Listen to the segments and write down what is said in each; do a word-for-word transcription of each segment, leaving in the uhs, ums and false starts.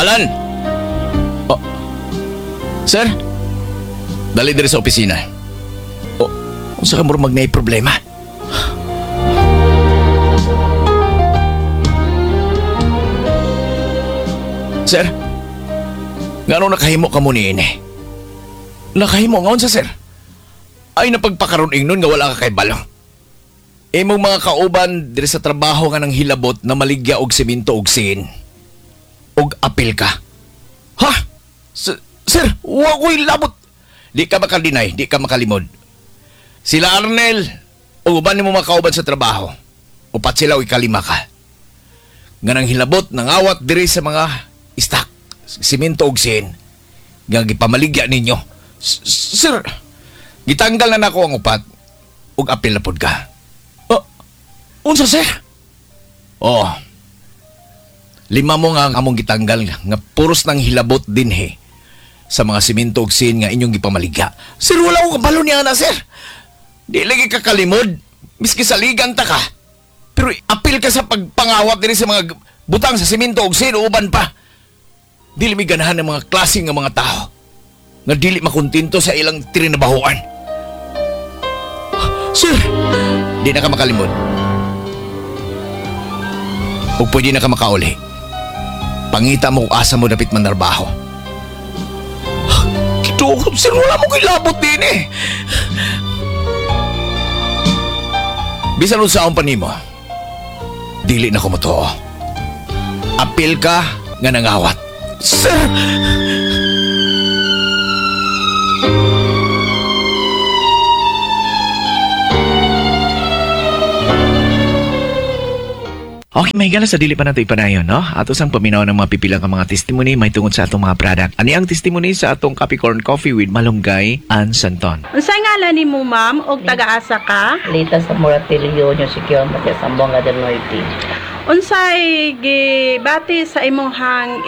Alan! Oh. Sir? Dali diri sa opisina. Oh, unsa ka murag naay problema? Sir? Ngano nakahimo ka mo niini? Nakahimo nga unsa, sir? Ay napagpakaroon ingnon nga wala ka kay balong. Imong mga kauban diri sa trabaho nga nang hilabot na maligya og semento og sin. Og apil ka. Ha? S- sir, wa ko'y labot. Di ka makadinay, di ka makalimod. Sila Arnel, o uban nimo mga kauban sa trabaho. Upat sila o ikalima ka. Nga nang hilabot, nangawat diri sa mga istak, simento og sin. Nga gipamaligya ninyo. S- Sir, gitanggal na nako ang upat. Ug apil na pod ka. Oh, unsa sir? Oh. Lima mo nga ang among gitanggal nga puros nang hilabot dinhi sa mga simento ug sin nga inyong gipamaligya. Sir, wala ko kabalo niya na, sir. Di lagi ka kalimod. Miski saligan ta ka. Pero apil ka sa pagpangawat dinhi sa mga butang sa simento ug sin uban pa. Dili mi ganahan ng mga klase nga mga tao nga dili makontento sa ilang trinabahoan. Sir, di na ka makalimod. Ug pwede na ka makauli. Pangita mo kung asa mo dapit manarbaho. Kito, sir, wala mo kilabot din eh. Bisan unsaon pa nimo, dili na ko motuo. Apil ka nga nangawat. Sir! Okay, may sa dili pa nato ipanayon, no? Ato sang paminaw ng mga pipilang ka mga testimony may tungod sa atong mga product. Ani ang testimony sa atong Capricorn Coffee with Malunggay and Santon. Unsay ngalan nimo ma'am og taga-asa ka? Lita sa Moratillo, New Secure, Matias, Zamboanga del Norte. Unsay gibati sa imong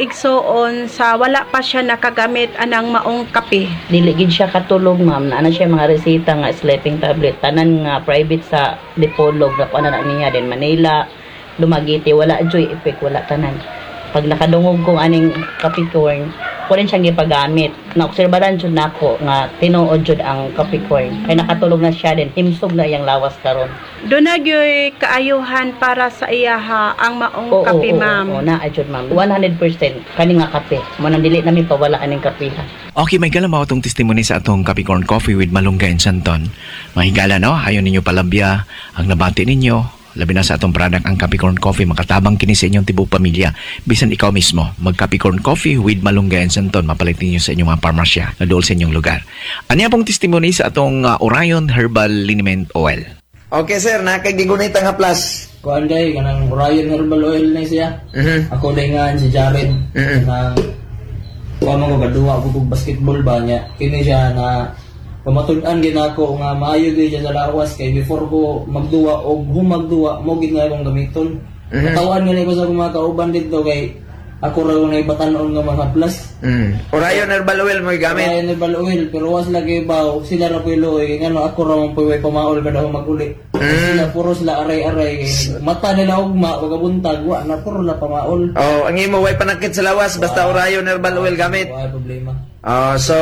igsuon sa wala pa siya nakagamit anang maong kape? Dili gid siya katulog, ma'am. Naa na siya mga reseta nga sleeping tablet. Tanan nga private sa Dipolog na kuan na niya din Manila, Dumaguete, wala joy effect, wala tanan. Pag nakadungog kong aning Capricorn, ko rin siyang gipagamit. Naobserbaran jud nako nga tinuod jud ang Capricorn. Kay nakatulog na siya din, himsog na iyang lawas karon. Doon na gyoy kaayuhan para sa iyaha ang maong Oo, kape, oo, ma'am. Oo, naa jud ma'am. one hundred percent kani nga kape. Mo nang dili namin pawala aning kape. Ha. Okay, may gala mao atong testimony sa atong Capricorn Coffee with Malunggay and Santon. Mahigala, no? Ayon ninyo palabya ang nabati ninyo. Labi na sa atong product ang Capricorn Coffee, makatabang kini sa inyong tibuok pamilya. Bisan ikaw mismo, mag Capricorn Coffee with Malunggay and Santon, mapalit ninyo sa inyong mga parmasya na dool sa inyong lugar. Aniya pong testimony sa atong uh, Orion Herbal Liniment Oil. Okay sir, nakagigunit ang haplas. Kuan day kanang Orion Herbal Oil na siya. Mhm. Ako day nga si Jared. Mhm. Kanang kuan mo gaduwa ko kog basketball ba niya. Kini siya na pamatud-an gid nako nga maayo gyud siya sa lawas kay before ko magduwa og humagduwa mo gid nga akong gamiton. Mhm. Katawan gani ko sa akong mga kauban didto kay ako ra ko naibatan-on nga mga plus. Mm. Orion Herbal Oil mo gamit. Orion Herbal Oil pero was lagi baw sila ra puy luoy kay ngano ako ra man puy way pamaol kada ako maguli. Sila puro sila aray-aray kay mata nila ugma pagabuntag wa na puro na pamaol. Oh, ang imo way panakit sa lawas basta Orion Herbal Oil gamit. Wa problema. Oh, so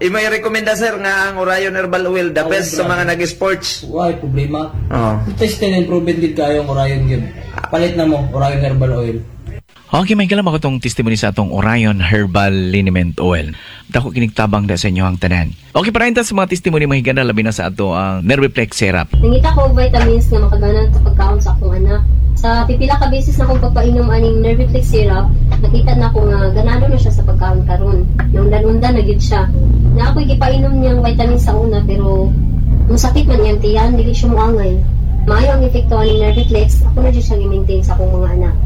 imo i-recommenda sir nga ang Orion Herbal Oil the best sa mga nag-sports. Wa problema. Oh. Tested and proven gid kayo ang Orion gyud. Palit na mo Orion Herbal Oil. Okay, may galam ako tong testimony sa atong Orion Herbal Liniment Oil. Dako kinigtabang da sa inyo ang tanan. Okay, para sa mga testimony mahigana labi na sa ato ang Nerviplex Syrup. Nangita ko og vitamins nga makaganan sa pagkaon sa akong anak. Sa pipila ka beses na akong pagpainom aning Nerviplex syrup, nakita na ko nga ganado na siya sa pagkaon karon. Naundan-undan na gyud siya. Na ako'y gipainom niyang vitamins sa una pero musakit man iyang tiyan, dili siya moangay. Maayo ang epekto aning Nerviplex, ako na jud siyang i-maintain sa akong mga anak.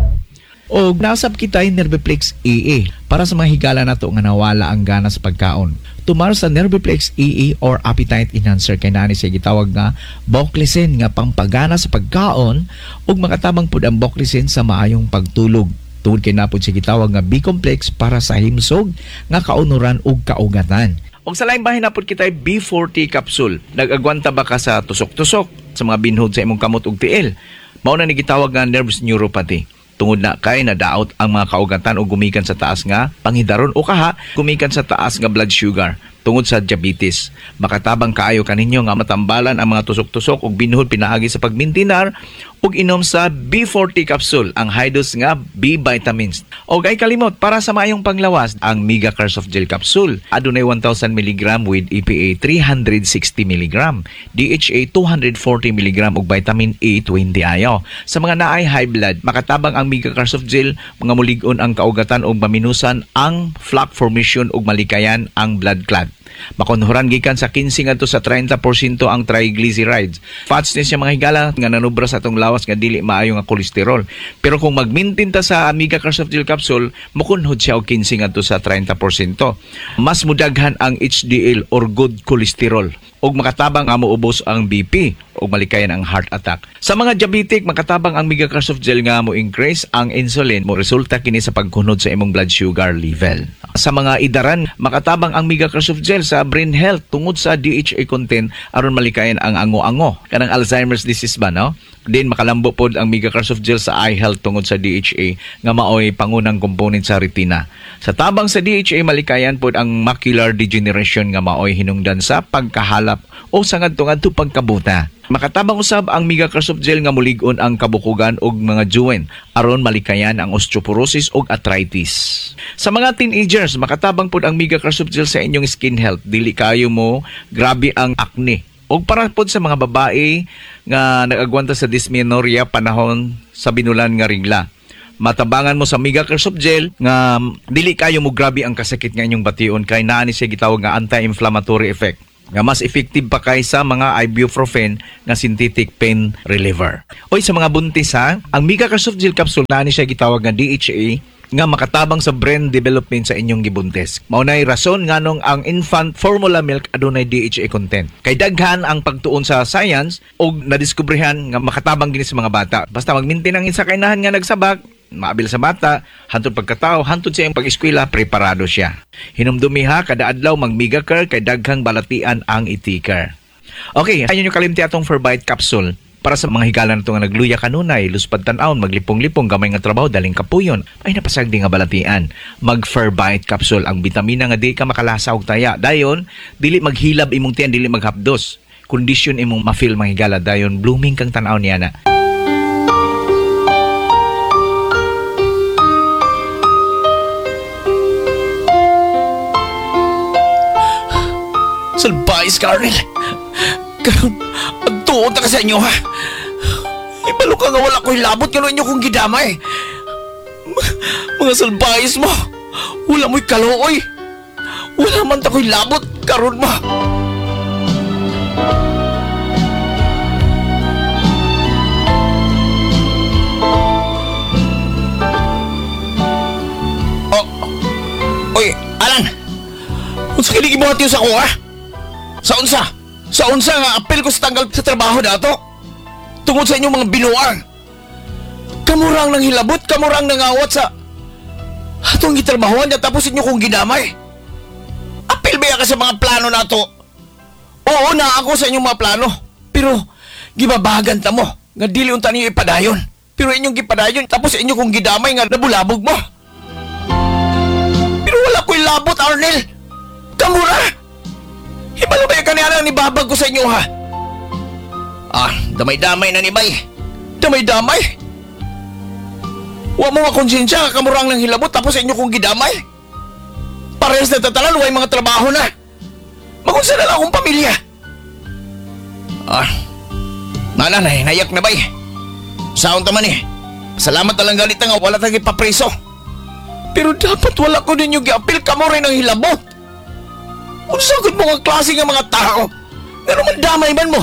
O nasab kita yung Nerviplex A A para sa mga higala nato nga nawala ang gana sa pagkaon. Tumar sa Nerviplex A A or Appetite Enhancer kay naani siya gitawag nga Boclisen nga pampagana sa pagkaon ug makatabang pud ang Boclisen sa maayong pagtulog. Tungod kay napod siya gitawag nga B-complex para sa himsog nga kaunuran ug kaugatan. Og sa laing bahin napod kita B forty capsule. Nag-agwanta ba ka sa tusok-tusok sa mga binhod sa imong kamot ug tiil? Mao na ni gitawag nga nerves neuropathy. Tungod na kay nadaot ang mga kaugatan o gumikan sa taas nga panghidaron o kaha gumikan sa taas nga blood sugar tungod sa diabetes. Makatabang kaayo kaninyo nga matambalan ang mga tusok-tusok ug binuhod pinaagi sa pagmintinar ug inom sa B forty capsule, ang high dose nga B vitamins. Og ay kalimot para sa maayong panglawas ang Mega Care Soft Gel capsule. Adunay one thousand milligram with E P A three hundred sixty milligram, D H A two hundred forty milligram ug vitamin E twenty ayo. Sa mga naay high blood, makatabang ang Mega Care Soft Gel mga mulig-on ang kaugatan ug maminusan ang plaque formation ug malikayan ang blood clot. Makunhuran gikan sa kinse ngadto sa treinta porsyento ang triglycerides. Fats ni siya mga higala nga nanubra sa atong lawas nga dili maayo nga kolesterol. Pero kung magmintin ta sa Mega Care Soft Gel capsule, mukunhod siya og kinse ngadto sa treinta porsyento. Mas mudaghan ang H D L or good cholesterol ug makatabang nga moubos ang B P ug malikayan ang heart attack. Sa mga diabetic, makatabang ang Mega Care Soft Gel nga mo increase ang insulin, mo resulta kini sa pagkunod sa imong blood sugar level. Sa mga idaran, makatabang ang Mega Care Soft Gel sa brain health tungod sa D H A content aron malikayan ang ango-ango kanang Alzheimer's disease ba, no? Din makalambo pod ang Mega Care Soft Gel sa eye health tungod sa D H A nga maoy pangunang component sa retina. Sa tabang sa D H A, malikayan pod ang macular degeneration nga maoy hinungdan sa pagkahalap o sa ngadto-ngadto pagkabuta. Makatabang usab ang Mega Care Soft Gel nga mulig-on ang kabukugan og mga joint aron malikayan ang osteoporosis og arthritis. Sa mga teenagers, makatabang pod ang Mega Care Soft Gel sa inyong skin health. Dili kayo mo grabe ang acne. Og para pod sa mga babae nga nag-agwanta sa dysmenorrhea panahon sa binulan nga regla. Matabangan mo sa Mega Care Soft Gel nga dili kayo mo grabe ang kasakit nga inyong bation kay naa ni siya gitawag nga anti-inflammatory effect nga mas effective pa kaysa mga ibuprofen nga synthetic pain reliever. Oy, sa mga buntis ha, ang Mega Care Soft Gel capsule naa ni siya gitawag nga D H A nga makatabang sa brain development sa inyong gibuntis. Mao nay rason nganong ang infant formula milk adunay D H A content. Kay daghan ang pagtuon sa science og nadiskubrehan nga makatabang gini sa mga bata. Basta magmintin ang isa kainahan nga nagsabak, maabil sa bata, hantod pagkatao, hantod sa iyang pag-eskwela, preparado siya. Hinumdumi ha, kada adlaw mag-Mega Care kay daghang balatian ang i-take. Okay, ayun yung kalimti atong Ferbite capsule para sa mga higala na ito nga nagluya kanunay, luspad tan-awon, maglipong-lipong, gamay nga trabaho, daling kapuyon, ay napasagdi nga balatian. Mag-Ferbite capsule, ang bitamina nga di ka makalasa og taya. Dayon, dili maghilab imong tiyan, dili maghapdos. Kondisyon imong ma-feel mga higala, dayon blooming kang tan-aw niya na. Salbais, Carnel. Karon, agtuon ta ka sa inyo, ha? Ibalo ka nga wala ko'y labot nga inyo kong gidamay. Ma-, mga salbais mo, wala mo'y kalooy. Wala man ta ko'y labot, karon mo. Oh, oy, Alan! Unsa kini gibuhat niyo sa ako, ha? Sa unsa? Sa unsa nga apel ko sa tanggal sa trabaho nato? Tungod sa inyong mga binuang. Kamurang nang hilabot, kamurang nangawat sa atong gitrabahoan niya tapos inyo kong ginamay. Apel ba ka sa mga plano nato? Oo na ako sa inyong mga plano. Pero gibabagan ta mo nga dili unta ninyo ipadayon. Pero inyong gipadayon tapos inyo kong gidamay nga nabulabog mo. Pero wala ko'y labot, Arnel. Kamura! Hibalo ba yung kaniya ni babag ko sa inyo, ha? Ah, damay-damay na ni Bay. Damay-damay? Wa mo makonsensya, kamurang ng hilabot tapos sa inyo kong gidamay. Parehas na tatalan, way mga trabaho na. Magunsa na lang akong pamilya. Ah, nana, nayak na, Bay. Saon ta man eh. Salamat na lang galit nga wala tayong ipapreso. Pero dapat wala ko ninyo giapil kamo rin ang hilabot. Unsa gud mo nga klase nga mga tao? Pero man damay man mo.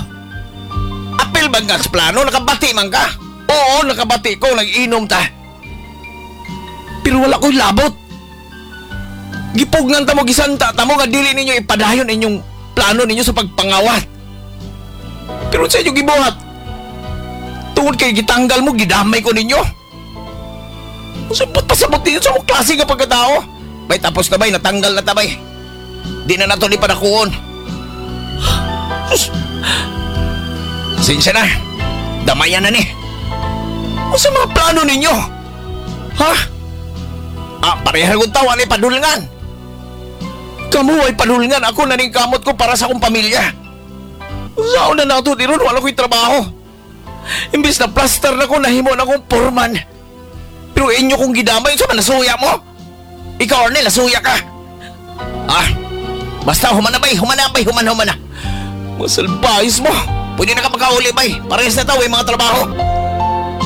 Apil man ka sa plano, nakabati man ka. Oo, nakabati ko, nag-inom ta. Pero wala ko'y labot. Gipugnan ta mo, gisanta ta mo, nga dili ninyo ipadayon inyong plano ninyo sa pagpangawat. Pero sa inyo gibuhat, tungod kay gitanggal mo, gidamay ko ninyo. Unsa ba't pasabot ninyo sa mong klase nga pagkatao? Bay, tapos na bay, natanggal na ta bay. Di na nato ni panakuon. Sus! Sinsya na. Damayan na ni. Unsa mga plano ninyo? Ha? Ah, pareha kong tawa ni padulngan. Kamu ay padulngan. Ako na ning kamot ko para sa akong pamilya. Saan na nato di ron, wala ko'y trabaho. Imbis na plaster na ko, nahimo na akong foreman. Pero inyo kong gidamay, sa man nasuya mo? Ikaw, Arnel, nasuya ka. Ah, basta humana bay, humana bay, humana, humana. Masalbayos mo. Pwede na ka magkauli bay. Parehas na tao, eh, mga trabaho.